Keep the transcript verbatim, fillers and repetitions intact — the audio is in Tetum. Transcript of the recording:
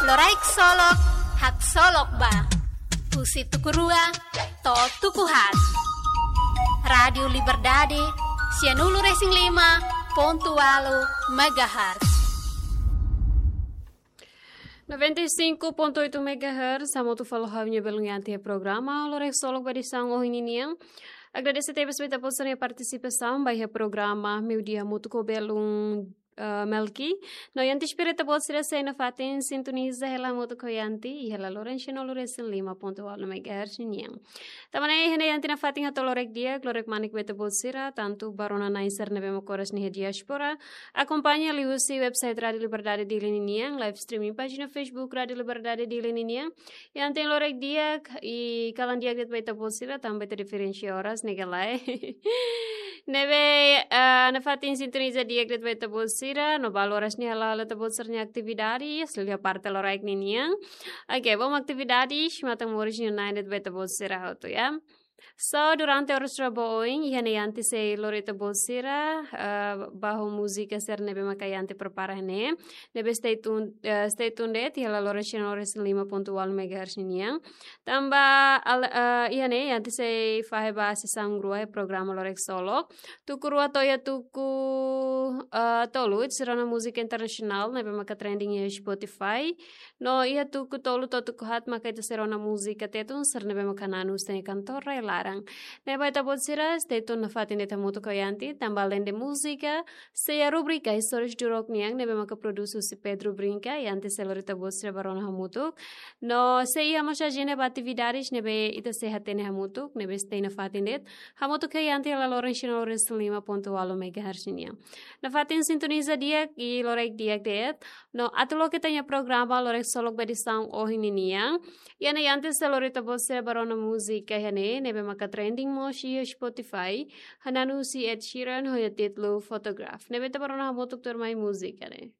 Loraik Solok, haksolok ba. Husi tuku rua to'o tuku haat. Rádiu Liberdade, sianulu-resin-lima pontu ualu megahertz. Noventa e cinco ponto oito megahertz, hamutuk fali ho ha'u-nia belun Yanti iha programa Loraik Solok ba edisaun ohin ninian. Agradese tebes ba ita-boot sira-nia partisipasaun ba iha programa Meiudia hamutuk ho belun, eh, Melki. No Yanti espera ita-boot sira sei nafatin sintoniza hela hamutuk ho Yanti iha laloran sianulu-resin-lima pontu ualu megahertz nian. Tanba ne'e iha ne'e Yanti nafatin hato'o loraik di'ak, loraik manik ba ita-boot sira, tantu ba rona-na'in sira ne'ebé maka oras ne'e iha diáspora, akompaña liuhusi website Rádiu Liberdade Dili ninian, live streaming pájina Facebook Rádiu Liberdade Dili ninian. Yanti loraik di'ak, i kalan di'ak de'it ba ita-boot sira, tanba ita diferensia oras ne'e ka lae. Ne'ebé, eh, nafatin sintoniza di'ak de'it ba ita-boot sira, no balu oras ne'e hala'o ita-boot sira-nia atividade, sira iha parte loraik ninian. Oke, bom atividade, matan moris nia na'in de'it ba ita-boot sira hotu, ya. So, durante oras rua ba oin, iha ne'e Yanti sei lori ita-boot sira, eh, ba ho múzika sira ne'ebé maka Yanti prepara ne'e. Ne'ebé stay tuned, eh, stay tuned de'it, iha laloran sianulu-resin-lima pontu ualu megahertz nian. Tanba al-, eh, iha ne'e Yanti sei fahe ba sesaun rua iha programa Loraik Solok. Tuku rua to'o iha tuku, eh, tolu, sira-nia múzika internasionál ne'ebé maka trending iha Spotify. No iha tuku tolu to'o tuku haat maka ita sei rona múzika Tetun sira ne'ebé maka hananu husi ita-nia kantor rai-laran. Ne'ebé ita-boot sira, stay tuned nafatin de'it hamutuk ho Yanti, tanba aleinde múzika, sei iha rubrika Istórias Durouk nian, ne'ebé maka produs husi Pedro Brinca, Yanti sei lori ita-boot sira ba rona hamutuk. No sei iha mós ajenda ba atividades ne'ebé ita sei hatene hamutuk, ne'ebé stay nafatin de'it hamutuk ho Yanti iha laloran sianulu-resin-lima pontu ualu megahertz nian. Nafatin sintoniza di'ak i loraik di'ak de'it. No atu loke ita-nia programa Loraik Solok ba edisaun ohin ninian. Iha ne'e Yanti sei lori ita-boot sira ba rona múzika iha ne'e, ne'ebé maka trending mós iha Spotify. Hananu husi Ed Sheeran ho nia títulu Photograph. Ne'ebé ita ba rona hamutuk tuirmai múzika ne'e.